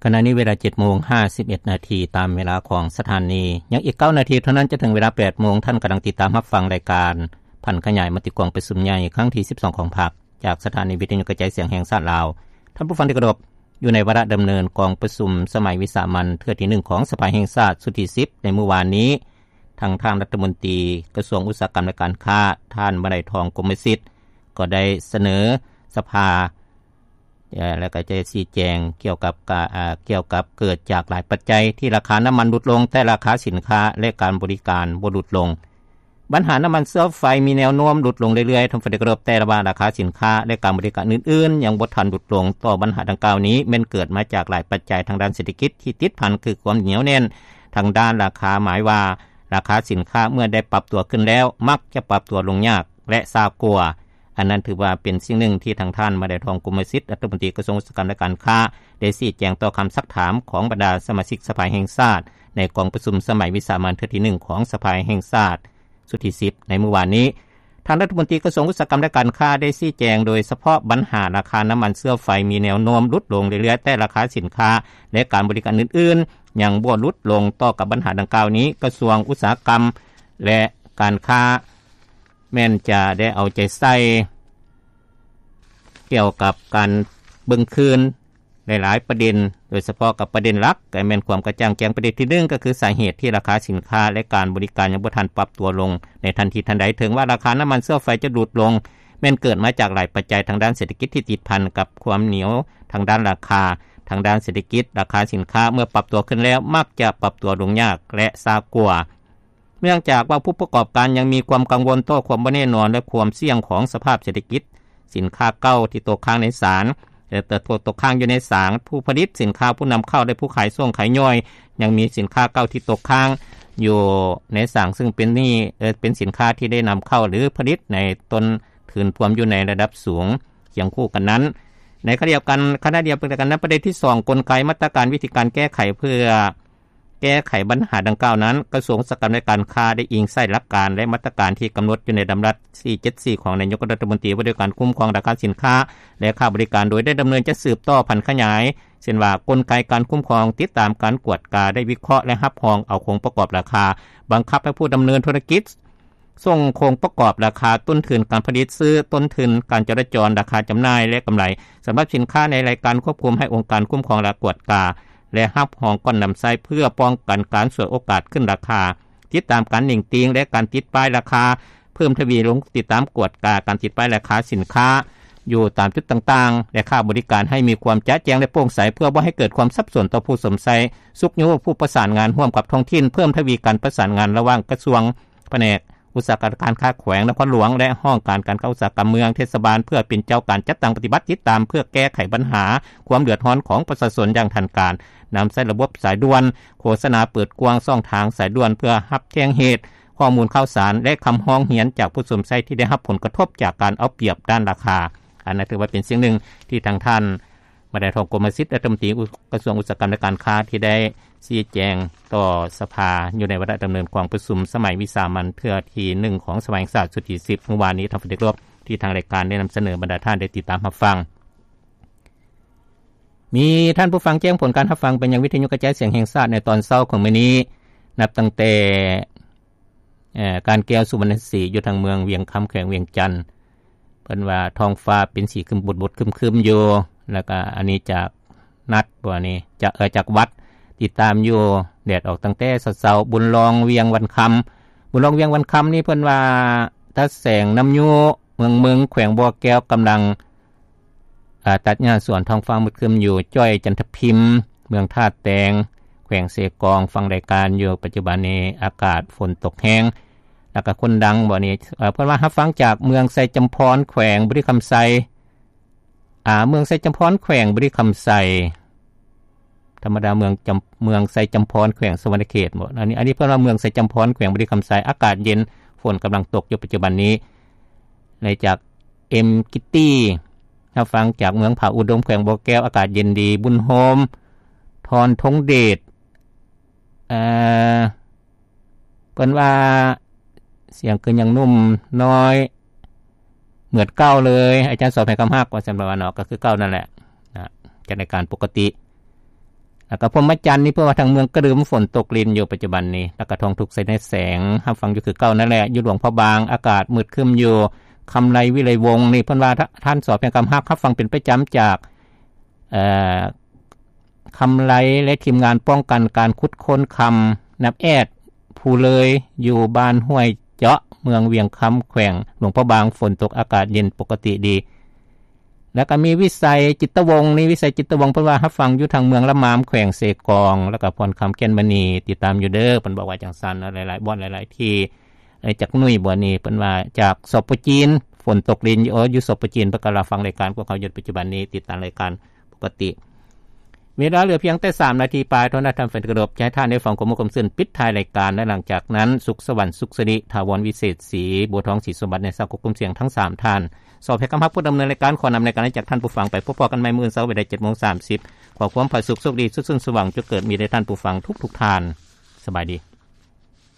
ຂະນະນີ້ເວລາເຈັດໂມງຫ້າສິບເອັດນາທີ ຕາມເວລາຂອງສະຖານີ. ຍັງອີກເກົ້ານາທີເທົ່ານັ້ນຈະເຖິງເວລາແປດໂມງ, ທ່ານກຳລັງຕິດຕາມຮັບຟັງລາຍການຜັນຂະຫຍາຍມະຕິກອງປະຊຸມໃຫຍ່ຄັ້ງທີສິບສອງຂອງພັກ ຈາກສະຖານີວິທະຍຸກະຈາຍສຽງແຫ່ງຊາດລາວ. ທ່ານຜູ້ຟັງທີ່ເຄົາລົບ, ຢູ່ໃນວາລະດຳເນີນກອງປະຊຸມສະໄໝວິສາມັນເທື່ອທີໜຶ່ງຂອງສະພາແຫ່ງຊາດຊຸດທີສິບ ໃນມື້ວານນີ້, ທາງທ່ານລັດຖະມົນຕີກະຊວງອຸດສາຫະກຳ ແລະ ການຄ້າ ທ່ານ ມະໄລທອງ ກົມມະສິດ ກໍໄດ້ສະເໜີສະພາ ແລະ ກໍຈະຊີ້ແຈງກ່ຽວກັບກາ ເອີ ກ່ຽວກັບເກີດຈາກຫຼາຍປັດໄຈທີ່ລາຄານ້ຳມັນຫຼຸດລົງ, ແຕ່ລາຄາສິນຄ້າ ແລະ ການບໍລິການບໍ່ຫຼຸດລົງ. ບັນຫານ້ຳມັນເຊື້ອໄຟມີແນວໂນ້ມຫຼຸດລົງເລື້ອຍໆ, ທ່ານຜູ້ຟັງທີ່ເຄົາລົບ, ແຕ່ວ່າລາຄາສິນຄ້າ ແລະ ການບໍລິການອື່ນໆ ຍັງບໍ່ທັນຫຼຸດລົງ. ຕໍ່ບັນຫາດັ່ງກ່າວນີ້ ແມ່ນເກີດມາຈາກຫຼາຍປັດໄຈທາງດ້ານເສດຖະກິດທີ່ຕິດພັນ ຄືຄວາມໜຽວແໜ້ນທາງດ້ານລາຄາ, ໝາຍວ່າລາຄາສິນຄ້າເມື່ອໄດ້ປັບຕົວຂຶ້ນແລ້ວ ມັກຈະປັບຕົວລົງຍາກ ແລະ ຊ້າກວ່າ. ອັນນັ້ນຖືວ່າເປັນສິ່ງໜຶ່ງທີ່ທາງທ່ານ ມະໄລທອງ ກົມມະສິດ ລັດຖະມົນຕີກະຊວງອຸດສາຫະກຳ ແລະ ການຄ້າ ໄດ້ຊີ້ແຈງຕໍ່ຄຳຊັກຖາມຂອງບັນດາສະມາຊິກສະພາແຫ່ງຊາດ ໃນກອງປະຊຸມສະໄໝວິສາມັນເທື່ອທີໜຶ່ງຂອງສະພາແຫ່ງຊາດຊຸດທີສິບ ໃນມື້ວານນີ້. ທ່ານລັດຖະມົນຕີກະຊວງອຸດສາຫະກຳ ແລະ ການຄ້າ ໄດ້ຊີ້ແຈງໂດຍສະເພາະບັນຫາລາຄານ້ຳມັນເຊື້ອໄຟມີແນວໂນ້ມຫຼຸດລົງເລື້ອຍໆ, ແຕ່ລາຄາສິນຄ້າ ແລະ ການບໍລິການອື່ນໆ ຍັງບໍ່ຫຼຸດລົງ. ຕໍ່ກັບບັນຫາດັ່ງກ່າວນີ້, ກະຊວງອຸດສາຫະກຳ ແລະ ການຄ້າ ແມ່ນຈະໄດ້ເອົາໃຈໃສ່ກ່ຽວກັບການເບິ່ງຄືນຫຼາຍໆປະເດັນ, ໂດຍສະເພາະກັບປະເດັນຫຼັກ ກໍແມ່ນຄວາມກະຈ່າງແຈ້ງ. ປະເດັນທີໜຶ່ງ ກໍຄືສາເຫດທີ່ລາຄາສິນຄ້າ ແລະ ການບໍລິການຍັງບໍ່ທັນປັບຕົວລົງໃນທັນທີທັນໃດ. ເຖິງວ່າລາຄານ້ຳມັນເຊື້ອໄຟຈະຫຼຸດລົງ, ແມ່ນເກີດມາຈາກຫຼາຍປັດໄຈທາງດ້ານເສດຖະກິດທີ່ຕິດພັນກັບຄວາມໜຽວທາງດ້ານລາຄາ, ທາງດ້ານເສດຖະກິດ, ລາຄາສິນຄ້າເມື່ອປັບຕົວຂຶ້ນແລ້ວ ມັກຈະປັບຕົວລົງຍາກ ແລະ ຊ້າກວ່າ. ເນື່ອງຈາກວ່າຜູ້ປະກອບການຍັງມີຄວາມກັງວົນຕໍ່ຄວາມບໍ່ແນ່ນອນ ແລະ ຄວາມສ່ຽງຂອງສະພາບເສດຖະກິດ, ສິນຄ້າເກົ່າທີ່ຕົກຄ້າງໃນສານ ແລະ ຕົກຄ້າງຢູ່ໃນສານ, ຜູ້ຜະລິດສິນຄ້າ, ຜູ້ນຳເຂົ້າ ແລະ ຜູ້ຂາຍສົ່ງຂາຍຍ່ອຍ ຍັງມີສິນຄ້າເກົ່າທີ່ຕົກຄ້າງຢູ່ໃນສານ, ຊຶ່ງເປັນນີ້ ເປັນສິນຄ້າທີ່ໄດ້ນຳເຂົ້າ ຫຼື ຜະລິດໃນຕົ້ນທຶນພວມຢູ່ໃນລະດັບສູງ. ຄຽງຄູ່ກັນນັ້ນ, ໃນຂະນະດຽວກັນ, ຂະນະດຽວກັນນັ້ນ, ປະເດັນທີສອງ ກົນໄກ, ມາດຕະການ, ວິທີການແກ້ໄຂເພື່ອ ແກ້ໄຂບັນຫາດັ່ງກ່າວນັ້ນ, ກະຊວງອຸດສາຫະກຳ ແລະ ການຄ້າ ໄດ້ອີງໃສ່ຫຼັກການ ແລະ ມາດຕະການທີ່ກຳນົດຢູ່ໃນດຳລັດສີ່ເຈັດສີ່ ຂອງນາຍົກລັດຖະມົນຕີ ວ່າດ້ວຍການຄຸ້ມຄອງລາຄາສິນຄ້າ ແລະ ຄ່າບໍລິການ ໂດຍໄດ້ດຳເນີນຈັດສືບຕໍ່ຜັນຂະຫຍາຍ, ເຊັ່ນວ່າ ກົນໄກການຄຸ້ມຄອງ, ຕິດຕາມ, ການກວດກາ, ໄດ້ວິເຄາະ ແລະ ຮັບຮອງເອົາໂຄງປະກອບລາຄາ, ບັງຄັບໃຫ້ຜູ້ດຳເນີນທຸລະກິດ ສົ່ງໂຄງປະກອບລາຄາ, ຕົ້ນທຶນການຜະລິດ, ຊື້ຕົ້ນທຶນ, ການຈະລາຈອນ, ລາຄາຈຳໜ່າຍ ແລະ ກຳໄລ ສຳລັບສິນຄ້າໃນລາຍການຄວບຄຸມ ໃຫ້ອົງການຄຸ້ມຄອງ ແລະ ກວດກາ ແລະ ຮັບຮອງກ່ອນນຳໃຊ້ ເພື່ອປ້ອງກັນການສວຍໂອກາດຂຶ້ນລາຄາ, ຕິດຕາມການເໜັງຕີງ ແລະ ການຕິດປ້າຍລາຄາເພີ່ມທະວີລົງ, ຕິດຕາມກວດກາການຕິດປ້າຍລາຄາສິນຄ້າຢູ່ຕາມຈຸດຕ່າງໆ ແລະ ຄ່າບໍລິການ ໃຫ້ມີຄວາມຈະແຈ້ງ ແລະ ໂປ່ງໃສ ເພື່ອບໍ່ໃຫ້ເກີດຄວາມສັບສົນຕໍ່ຜູ້ຊົມໃຊ້, ຊຸກຍູ້ຜູ້ປະສານງານຮ່ວມກັບທ້ອງຖິ່ນ, ເພີ່ມທະວີການປະສານງານລະຫວ່າງກະຊວງ, ພະແນກ ອຸດສາຫະກຳ ການຄ້າແຂວງນະຄອນຫຼວງ ແລະ ຫ້ອງການການຄ້າອຸດສາຫະກຳເມືອງ, ເທດສະບານ ເພື່ອເປັນເຈົ້າການຈັດຕັ້ງປະຕິບັດ, ຕິດຕາມເພື່ອແກ້ໄຂບັນຫາຄວາມເດືອດຮ້ອນຂອງປະຊາຊົນຢ່າງທັນການ, ນຳໃຊ້ລະບົບສາຍດ່ວນ, ໂຄສະນາເປີດກວ້າງຊ່ອງທາງສາຍດ່ວນ ເພື່ອຮັບແຈ້ງເຫດ, ຂໍ້ມູນຂ່າວສານ ແລະ ຄຳຮ້ອງຮຽນຈາກຜູ້ຊົມໃຊ້ທີ່ໄດ້ຮັບຜົນກະທົບຈາກການເອົາປຽບດ້ານລາຄາ. ອັນນັ້ນຖືວ່າເປັນສິ່ງໜຶ່ງທີ່ທາງທ່ານ ມະໄດທອງ ກົມມະສິດ ລັດຖະມົນຕີກະຊວງອຸດສາຫະກຳ ແລະ ການຄ້າ ທີ່ໄດ້ຊີ້ແຈງຕໍ່ສະພາຢູ່ໃນວາລະດຳເນີນກອງປະຊຸມສະໄໝວິສາມັນເທື່ອທີໜຶ່ງຂອງສະພາແຫ່ງຊາດຊຸດທີສິບ ມື້ວານນີ້. ທ່ານຜູ້ເຄົາລົບ, ທີ່ທາງລາຍການໄດ້ນຳສະເໜີບັນດາທ່ານໄດ້ຕິດຕາມຮັບຟັງ. ມີທ່ານຜູ້ຟັງແຈ້ງຜົນການຮັບຟັງໄປຍັງວິທະຍຸກະຈາຍສຽງແຫ່ງຊາດໃນຕອນເຊົ້າຂອງມື້ນີ້, ນັບຕັ້ງແຕ່ ເອີ ການແກ້ວ ສຸວັນນະສີ ຢູ່ທາງເມືອງວຽງຄຳ ແຂວງວຽງຈັນ. ເພິ່ນວ່າທ້ອງຟ້າເປັນສີຄຶມບົດໆ ຄຶມໆຢູ່, ແລ້ວກະອັນນີ້ຈາກນັດ ບໍ່ ອັນນີ້ຈາກ ເອີ ຈາກວັດ ຕິດຕາມຢູ່, ແດດອອກຕັ້ງແຕ່ເຊົ້າໆ. ບຸນລອງວຽງວັນຄຳ, ບຸນລອງວຽງວັນຄຳນີ້ເພິ່ນວ່າ ຕາແສງນ້ຳຍູ້ ເມືອງເມິງ ແຂວງບໍ່ແກ້ວ ກຳລັງ ອາ ຕັດຫຍ້າສວນ, ທ້ອງຟ້າມືດຄຶ້ມຢູ່. ຈ້ອຍ ຈັນທະພິມ ເມືອງທ່າແຕງ ແຂວງເຊກອງ ຟັງລາຍການຢູ່. ປັດຈຸບັນນີ້ອາກາດຝົນຕົກແຮງ ແລ້ວກະຄົນດັງ ບໍ່ນີ້ ເອີ ເພິ່ນວ່າຮັບຟັງຈາກເມືອງໄຊຈຳພອນ ແຂວງບໍລິຄຳໄຊ ອາ ເມືອງໄຊຈຳພອນ ແຂວງບໍລິຄຳໄຊ. ທຳມະດາເມືອງຈຳ ເມືອງໄຊຈຳພອນ ແຂວງສະຫວັນນະເຂດ ບໍ່ ອັນນີ້ ອັນນີ້ເພິ່ນວ່າເມືອງໄຊຈຳພອນ ແຂວງບໍລິຄຳໄຊ ອາກາດເຢັນ ຝົນກຳລັງຕົກຢູ່ປັດຈຸບັນນີ້. ແລະ ຈາກ ເອັມ ກິດຕີ ຮັບຟັງຈາກເມືອງຜາອຸດົມ ແຂວງບໍ່ແກ້ວ ອາກາດເຢັນດີ. ບຸນໂຮມ ທອນ ທົງເດດ ເອີ ເພິ່ນວ່າ ສຽງຄືຍັງໜຸ່ມນ້ອຍ ເໝືອນເກົ່າເລີຍ ອາຈານສອນໃຫ້ຄຳຮັກ ວ່າຊັ້ນ ປະມານເນາະ ກໍຄືເກົ່ານັ້ນແຫຼະນະ ຈັດລາຍການປົກກະຕິ. ແລ້ວກໍພົມມະຈັນນີ້ ເພິ່ນວ່າທາງເມືອງກະດຶມຝົນຕົກລິນຢູ່ປັດຈຸບັນນີ້ ແລ້ວກໍທອງທຸກໄຊແນແສງ ຮັບຟັງຢູ່ຄືເກົ່ານັ້ນແຫຼະ ຢູ່ຫຼວງພະບາງ ອາກາດມືດຄຶ້ມຢູ່ ຄຳໄລວິໄລວົງນີ້ ເພິ່ນວ່າ ທ່ານ ສ. ແພງຄຳຮັກ ຮັບຟັງເປັນປະຈຳຈາກ ເອີ ຄຳໄລ ແລະ ທີມງານປ້ອງກັນການຂຸດຄົ້ນຄຳ ນັບແອດ ພູເລີຍ ຢູ່ບ້ານຫ້ວຍເຈາະ ເມືອງວຽງຄຳ ແຂວງຫຼວງພະບາງ ຝົນຕົກ ອາກາດເຢັນປົກກະຕິດີ. ແລ້ວກໍມີວິໄສ ຈິດຕະວົງນີ້ ວິໄສ ຈິດຕະວົງ ເພິ່ນວ່າຮັບຟັງຢູ່ທາງເມືອງລະມາມ ແຂວງເຊກອງ ແລ້ວກໍພອນຄຳ ແກ່ນມະນີ ຕິດຕາມຢູ່ເດີ ເພິ່ນບອກວ່າຈັ່ງຊັ້ນເນາະ ຫຼາຍໆບ່ອນ ຫຼາຍໆທີ່. ເອີ ຈາກໜຸ່ຍບົວນີ ເພິ່ນວ່າຈາກ ສປ ຈີນ ຝົນຕົກລິນຢູ່ ເອີ ຢູ່ ສປ ຈີນ ເພິ່ນກໍຮັບຟັງລາຍການພວກເຮົາຢູ່ປັດຈຸບັນນີ້ ຕິດຕາມລາຍການປົກກະຕິ. ເວລາເຫຼືອພຽງແຕ່ສາມນາທີປາຍເທົ່ານັ້ນ ທ່ານແຟນທີ່ເຄົາລົບ ຈະໃຫ້ທ່ານໄດ້ຟັງຂໍ້ມູນຄວາມຊື່ນ ປິດທ້າຍລາຍການ ແລະ ຫຼັງຈາກນັ້ນ ສຸກສະຫວັນ ສຸກສະລິ ຖາວອນ ວິເສດສີ ບົວທອງ ສີສົມບັດ ໃນສາກົບກົມສຽງທັງສາມທ່ານ. ສອບໃຫ້ຄຳຮັບຜູ້ດຳເນີນລາຍການ ຂໍນຳລາຍການອອກຈາກທ່ານຜູ້ຟັງໄປ. ພົບພໍ້ກັນໃໝ່ມື້ເຊົ້າເວລາເຈັດໂມງສາມສິບ. ຂໍຄວາມຜາສຸກໂຊກດີ ສຸກສົນສວ່າງ ຈົ່ງເກີດມີແດ່ທ່ານຜູ້ຟັງທຸກໆທ່ານ. ສະບາຍດີ.